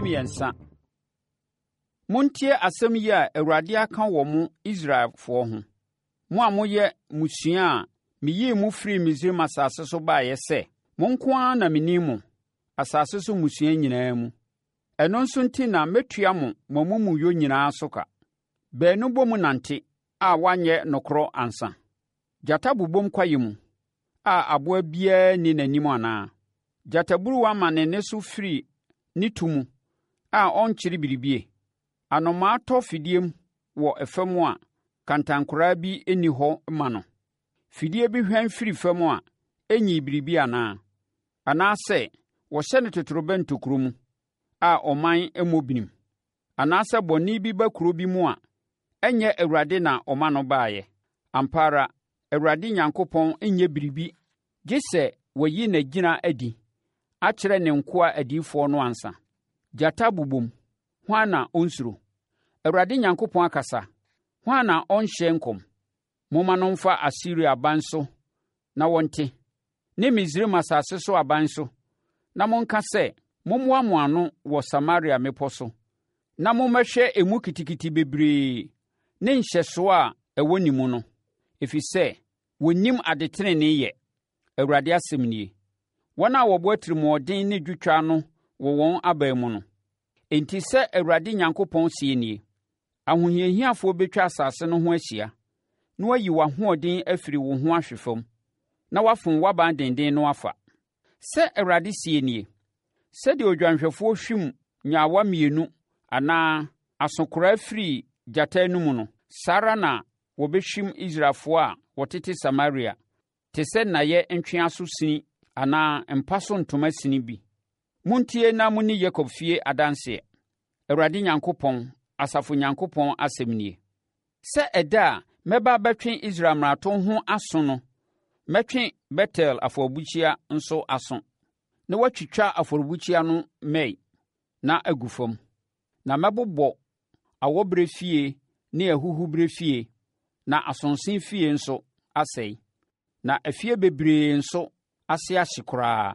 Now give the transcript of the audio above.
13. Montie asɛm yi a Awurade aka wɔ mo Israelfoɔ ho, mo a moyɛ mmusua a meyii mo firii Misraim asase so baeɛ sɛ, Mo nko ara na menim mo, asase so mmusua nyinaa mu. Ɛno nso nti na mɛtua mo mo amumuyɛ nyinaa so ka. Baanu bɔ mu nante a wɔanyɛ nokorɔ ansa? Gyata bobom kwaeɛ mu a aboa biara nni n'anim anaa? Gyataburuwa ma ne nne so firi ne tu mu a ɔnkyere biribie? Anomaa tɔ fidiem wɔ fam a kantankoraa bi nni hɔ ma no? Fidie bi hwan firi fam a ɛnyii biribi anaa? Anaasɛ wɔhyɛne totorobɛnto kuro mu a ɔman mmɔ binim? Anaasɛ bɔne bi ba kuro bi mu a, ɛnyɛ Awurade na ɔma no baeɛ? Ampa ara, Awurade Nyankopɔn nyɛ biribi gye sɛ wayi n'agyina adi akyerɛ ne nkoa adiyifoɔ no ansa. Gyata bobom, hwan na ɔnsuro? Awurade Nyankopɔn akasa, hwan na ɔnhyɛ nkɔm? Momma no mfa Asiria aban so na wɔnte, ne Misraim asase so aban so, na monka sɛ, 'Mommoa mo ano wɔ Samaria mmepɔ so, na mommɛhwɛ emu kitikiti bebree ne nhyɛsoɔ a ɛwɔ ne mu no, ɛfiri sɛ wɔnnim adetenenee yɛ, Awurade asɛm nie. Wɔn a wɔbɔ atirimuɔden ne dwotwa ano wɔ wɔn aban mu no. Enti sɛ Awurade Nyankopɔn seɛ nie, Ahohiahiafoɔ bɛtwa asase no ho ahyia, na wɔayi w'ahoɔden afiri wo ho ahwe fam, na wɔafom w'aban denden no afa. Sɛ Awurade seɛ nie, Sɛdeɛ odwanhwɛfoɔ hwim nyaawa mmienu anaa asokoraa firi gyata anom no, saa ara na wɔbɛhwim Israelfoɔ a wɔtete Samaria, te sɛ nnaeɛ ntweaso sini anaa mpa so ntoma sini bi. Montie na monni Yakob fie adanseɛ, Awurade Nyankopɔn, asafo Nyankopɔn asɛm nie. Sɛ ɛda a mɛba abɛtwe Israel mmarato ho aso no, mɛtwe Betel afɔrebukyia nso aso, na wɔatwitwa afɔrebukyia no mmɛn na agu fam. Na mɛbobɔ awɔberɛ fie ne ahuhuberɛ fie, na asonse fie nso asɛe, na afie bebree nso ase ahye koraa.